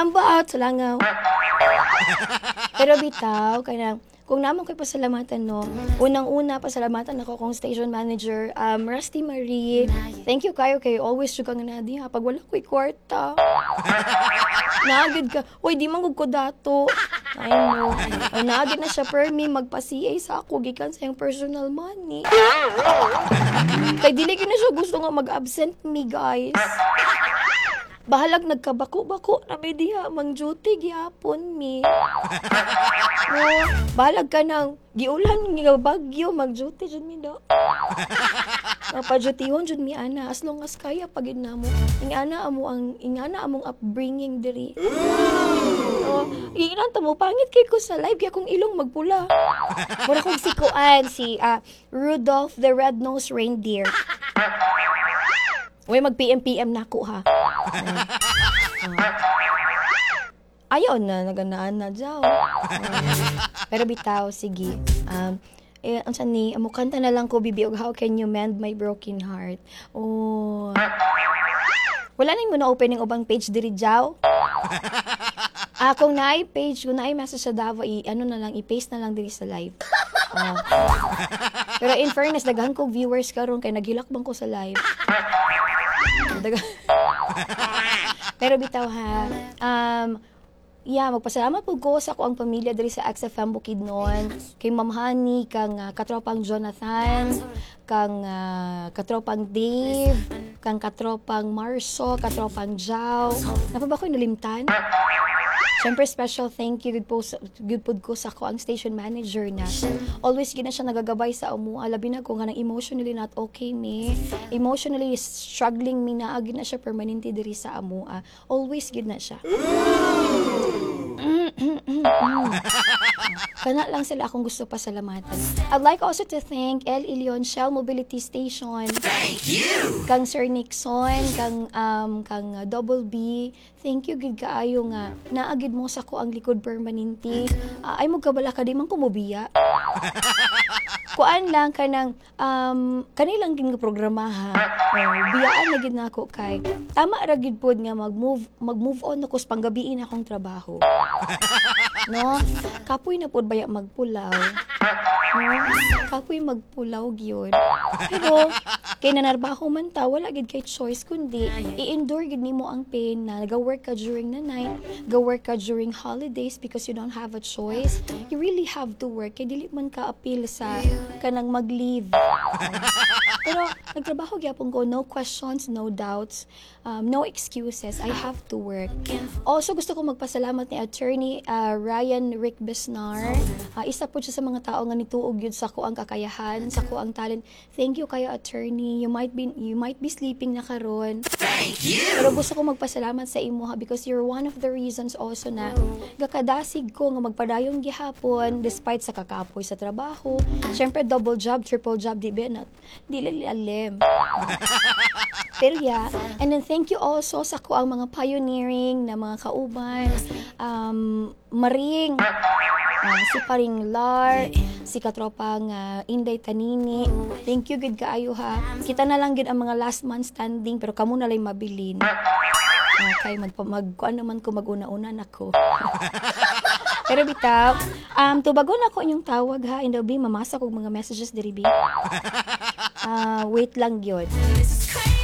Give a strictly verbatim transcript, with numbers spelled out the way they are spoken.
Ambot sa langaw. Pero bitaw, kanang kung naa man ko'y pasalamatan, no, unang-una, pasalamatan ako kong station manager, um, Rusty Marie. Thank you kayo kay always jud kang naa diha pag wala ko'y kwarta. Naa gyud ka, uy, di man gud ko dato. I know. Oh, naa gyud na siya permi magpa-C A sa ako gikan sa iyang personal money. Kay dili gyud na siya gusto nga mag-absent me, guys. Bahalag nagkabako-bako na mi diha, mang duty gihapon mi. No, bahalag ka nang giulan nga bagyo, mag-duty jud mi do. Mapadyutihon jud mi ana as long as kaya pa gid namo. Ingana amo ang ingana among upbringing diri. Oh, iilan ta mo pangit kay ko sa live kaya akong ilong magpula. Mura kong si kuan si ah, Rudolph the Red-Nosed Reindeer. Uy, mag P M P M na ako ha. Oh. Oh. Ayaw na, naganaan na jaw. Oh. Pero bitaw, sige. Um, eh, ang ni, mukanta na lang ko, bibi, og "How Can You Mend My Broken Heart?" Oh. Wala na mo na opening ubang page diri, jaw? Ah, kung naay page, kung naay message sa Davao, i ano na lang, i-paste na lang diri sa live. Oh. Pero in fairness, daghan ko viewers karon kay naghilak bang ko sa live. Daghan. Pero bitaw ha, um, yeah, magpasalamat po ko sa ako ang pamilya diri sa X F M Bukidnon, kay Ma'am Honey, kang uh, katropang Jonathan, kang uh, katropang Dave, kang katropang Marso, katropang Jao. Naa pa ba ko nalimtan? Siyempre, special thank you gud po sa, gud pod ko sa ako ang station manager na always gid na siya nagagabay sa amo. Labi na ko nga nang emotionally not okay me. Emotionally struggling mi, naa gid na siya permanente diri sa amo. Always gid na siya. Mm, mm, mm, mm. Kana lang sila akong gusto pasalamatan. I'd like also to thank El Ilion Shell Mobility Station. Thank you. Kang Sir Nixon, kang um, kang uh, Double B. Thank you gid kaayo nga naa gid mo sa ko ang likod permanente. Uh, ay mo kabala ka di man ko mobiya. Kuan lang kanang um kanilang gid nga programa ha. Oh, biyaan na gid nako kay tama ra gid pod nga mag-move mag-move on ako sa panggabiin akong trabaho. No? Kapoy na pod baya magpulaw. No? Kapoy magpulaw gyud. Pero kay nanarbaho man ta, wala gid kay choice kundi i-endure gid nimo ang pain na naga-work ka during the night, ga-work ka during holidays because you don't have a choice. You really have to work kay dili man ka appeal sa kanang mag-leave. Pero nagtrabaho gyapon ko, no questions, no doubts, um, no excuses. I have to work. Also gusto ko magpasalamat ni Attorney uh, Ryan Rick Besnar. Uh, isa po siya sa mga tao nga nituog yun sa ko ang kakayahan, sa ko ang talent. Thank you kayo, Attorney. You might be you might be sleeping na karon. Thank you. Pero gusto ko magpasalamat sa imo ha because you're one of the reasons also na gakadasig ko nga magpadayon gihapon despite sa kakapoy sa trabaho. Syempre double job, triple job, di ba na di alim. Pero yeah, and then thank you also sa ko ang mga pioneering na mga kauban, um, Maring, ah, si Paring Lar, si katropang uh, Inday Tanini. Thank you gud kaayo ha. Kita na lang gud ang mga last man standing pero kamo na lang mabilin. Okay, mag mag kuan naman ko, maguna-una nako. Pero bitaw, um tubagon ako inyong tawag ha. Indaw bi, mamasa kog mga messages diri bi. Ah, wait lang gyud.